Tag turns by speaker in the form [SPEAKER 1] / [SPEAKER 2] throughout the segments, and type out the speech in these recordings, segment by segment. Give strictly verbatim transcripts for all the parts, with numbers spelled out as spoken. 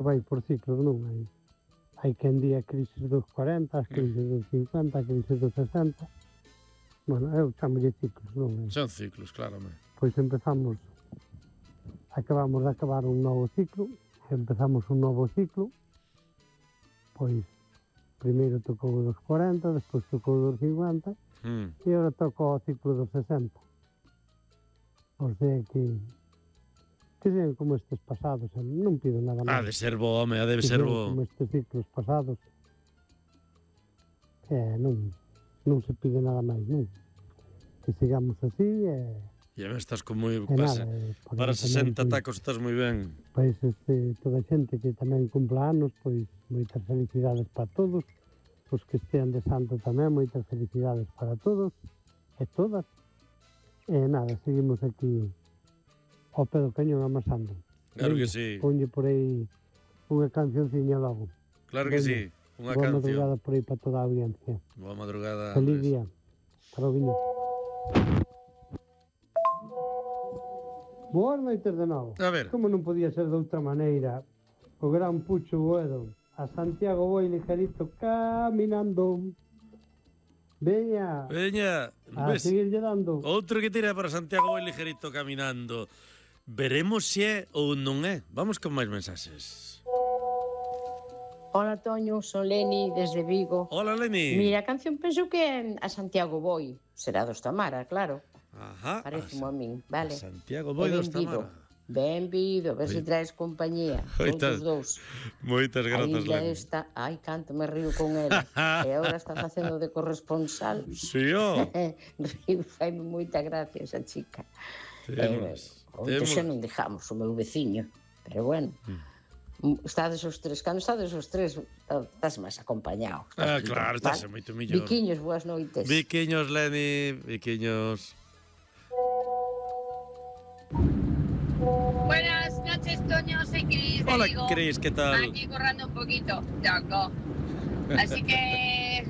[SPEAKER 1] vai por ciclos, non hai. Hai quen di a crisis dos cuarenta, as crisis dos cincuenta, a crisis dos sesenta. Bueno, eu chamolle ciclos, non?
[SPEAKER 2] Son ciclos, claramente.
[SPEAKER 1] Pois empezamos, acabamos de acabar un novo ciclo, empezamos un novo ciclo, pois primeiro tocou dos cuarenta, despois tocou dos cincuenta,
[SPEAKER 2] Mm.
[SPEAKER 1] e agora tocou o ciclo dos sesenta. O sea que, que sean como estes pasados, non pido nada
[SPEAKER 2] Ha
[SPEAKER 1] máis.
[SPEAKER 2] de ser bo, home, ha de
[SPEAKER 1] Que
[SPEAKER 2] ser
[SPEAKER 1] sean
[SPEAKER 2] bo.
[SPEAKER 1] como estes ciclos pasados. Eh, non, non se pide nada máis, non. Que sigamos así, e...
[SPEAKER 2] E me estás con moi...
[SPEAKER 1] E
[SPEAKER 2] Para,
[SPEAKER 1] nada, eh, por
[SPEAKER 2] para
[SPEAKER 1] eso
[SPEAKER 2] sesenta
[SPEAKER 1] tamén,
[SPEAKER 2] tacos estás moi ben.
[SPEAKER 1] Pois este, toda a xente que tamén cumpla anos, pois moitas felicidades para todos, os que estean de santo tamén, moitas felicidades para todos e todas. E nada, seguimos aquí ao pé do cañón amasando.
[SPEAKER 2] Claro que
[SPEAKER 1] Veña,
[SPEAKER 2] sí.
[SPEAKER 1] Ponlle por aí unha cancionciña logo.
[SPEAKER 2] Claro que
[SPEAKER 1] Veña,
[SPEAKER 2] sí. Unha
[SPEAKER 1] boa
[SPEAKER 2] canción.
[SPEAKER 1] madrugada por aí para toda a audiencia.
[SPEAKER 2] Boa madrugada,
[SPEAKER 1] Feliz
[SPEAKER 2] Andrés.
[SPEAKER 1] día. Para o viño. Boas noites de novo.
[SPEAKER 2] A ver.
[SPEAKER 1] Como non podía ser de outra maneira, o gran Pucho Boedo, a Santiago Boi ligerito caminando. Veña,
[SPEAKER 2] Veña,
[SPEAKER 1] a
[SPEAKER 2] ves?
[SPEAKER 1] seguirlle dando.
[SPEAKER 2] Outro que tira para Santiago vai ligerito caminando. Veremos se é ou non é. Vamos con máis mensaxes.
[SPEAKER 3] Hola, Toño, son Leni, desde Vigo.
[SPEAKER 2] Hola, Leni.
[SPEAKER 3] Mira, a canción penso que é a Santiago Boi. Será dos Tamara, claro.
[SPEAKER 2] Ajá.
[SPEAKER 3] Parece
[SPEAKER 2] a,
[SPEAKER 3] a min, vale.
[SPEAKER 2] a Santiago Boi dos
[SPEAKER 3] Benvido.
[SPEAKER 2] Tamara.
[SPEAKER 3] Benvido, ver se
[SPEAKER 2] Oi.
[SPEAKER 3] traes compañía.
[SPEAKER 2] Moitas-
[SPEAKER 3] Todos os dous.
[SPEAKER 2] Moitas
[SPEAKER 3] A
[SPEAKER 2] grazas,
[SPEAKER 3] illa
[SPEAKER 2] Leni.
[SPEAKER 3] esta, ai, canto me río con ela. E agora está facendo de corresponsal.
[SPEAKER 2] Sí, ó.
[SPEAKER 3] Río, faime moita gracia esa chica.
[SPEAKER 2] Temos.
[SPEAKER 3] Onte xa
[SPEAKER 2] Temos.
[SPEAKER 3] non dejamos o meu veciño, pero bueno. Estades os tres, cando estades os tres, estás máis acompañado.
[SPEAKER 2] Ah, claro, estás moito mellor.
[SPEAKER 3] Viquiños, boas noites.
[SPEAKER 2] Viquiños, Leni, viquiños.
[SPEAKER 4] Buenas noches, Toño, soy Cris. de
[SPEAKER 2] Hola,
[SPEAKER 4] Vigo.
[SPEAKER 2] Cris, ¿qué tal?
[SPEAKER 4] Aquí corrando un poquito, loco. Así que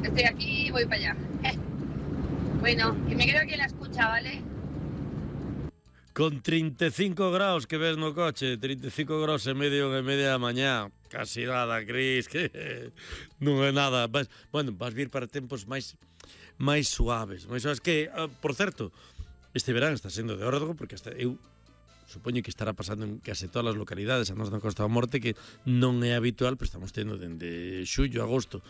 [SPEAKER 4] estoy aquí y voy para allá. Bueno, que me quedo aquí en la escucha, ¿vale?
[SPEAKER 2] Con treinta e cinco graus que ves no coche, treinta e cinco graus e medio e media da mañá. Casi nada, Cris, que non é nada. Vas, bueno, vas vir para tempos máis máis suaves. Máis suaves que, uh, por certo, este verán está sendo de órdago, porque hasta eu supoño que estará pasando en case todas as localidades a nos na Costa da Morte, que non é habitual, pero estamos tendo dende xullo, agosto,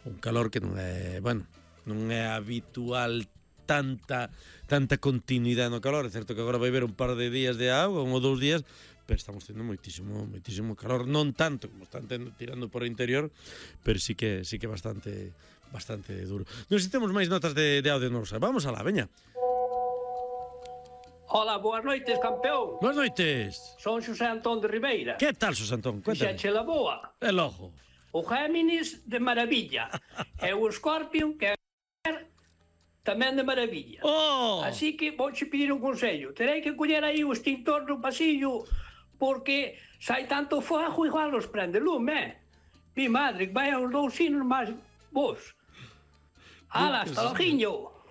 [SPEAKER 2] un calor que non é, bueno, non é habitual tanta tanta continuidade no calor. É certo que agora vai haber un par de días de agua, un ou dous días, pero estamos tendo moitísimo moitísimo calor, non tanto como están tendo, tirando por o interior, pero sí que sí que bastante bastante duro. Non sei se temos máis notas de, de audio, non sei. Vamos alá, veña.
[SPEAKER 5] Hola, boas noites, campeón.
[SPEAKER 2] Boas noites.
[SPEAKER 5] Son Xosé Antón de Ribeira.
[SPEAKER 2] Que tal, Xosé Antón? Cuéntame.
[SPEAKER 5] Xa che la boa.
[SPEAKER 2] El ojo.
[SPEAKER 5] O Géminis de maravilla. E o Escorpio, que é tamén de maravilla.
[SPEAKER 2] Oh!
[SPEAKER 5] Así que vou che pedir un consello. Terei que coller aí o extintor no pasillo, porque sai tanto fuego igual nos prende lume, eh? Mi madre, que vai aos dous sinos máis vos. Ala, hasta lojiño.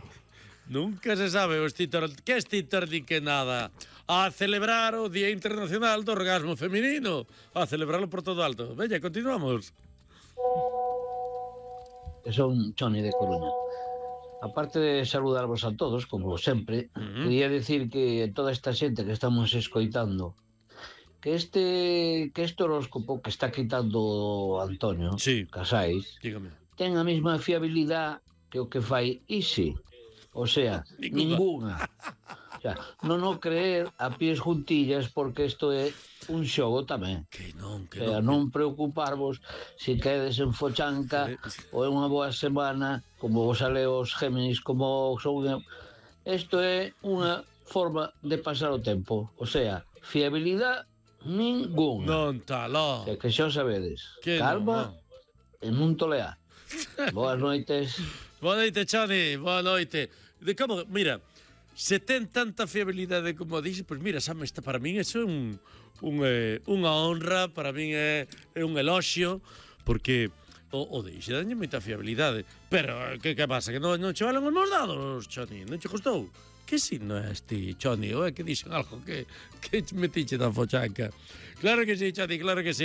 [SPEAKER 2] Nunca se sabe o extintor. Que extintor di que nada? A celebrar o Día Internacional do Orgasmo Feminino. A celebrarlo por todo alto. Veña, continuamos.
[SPEAKER 6] Son Choni de Coruña. Aparte de saludarvos a todos, como sempre, uh -huh. quería decir que toda esta xente que estamos escoitando, que este que este horóscopo que está quitando Antonio
[SPEAKER 2] sí.
[SPEAKER 6] Casais,
[SPEAKER 2] dígame,
[SPEAKER 6] ten a mesma fiabilidade que o que fai Isi. O sea, ninguna. O sea, non o creer a pies juntillas, porque isto é un xogo tamén.
[SPEAKER 2] Que non, que
[SPEAKER 6] o sea,
[SPEAKER 2] non.
[SPEAKER 6] non preocuparvos se quedes en Fochanca sí. ou é unha boa semana, como vos ale os Géminis, como son... Isto é unha forma de pasar o tempo. O sea, fiabilidade ninguna.
[SPEAKER 2] Non taló.
[SPEAKER 6] O sea, que xa o sabedes.
[SPEAKER 2] Que
[SPEAKER 6] calma
[SPEAKER 2] non, non.
[SPEAKER 6] e non tolear. Boas noites.
[SPEAKER 2] Boa noite, Chani. Boa noite. De como, mira, se ten tanta fiabilidade como dixe, pois pues mira, xa me está, para min eso é un, un, eh, unha honra, para min é, é un eloxio, porque o, o dixe dañe moita fiabilidade. Pero, que, que pasa? Que non, non che valen os meus dados, Chani? Non che costou? Que signo é este, Chani? Ou é que dixen algo que, que metiche da fochanca? Claro que sí, Chani, claro que sí.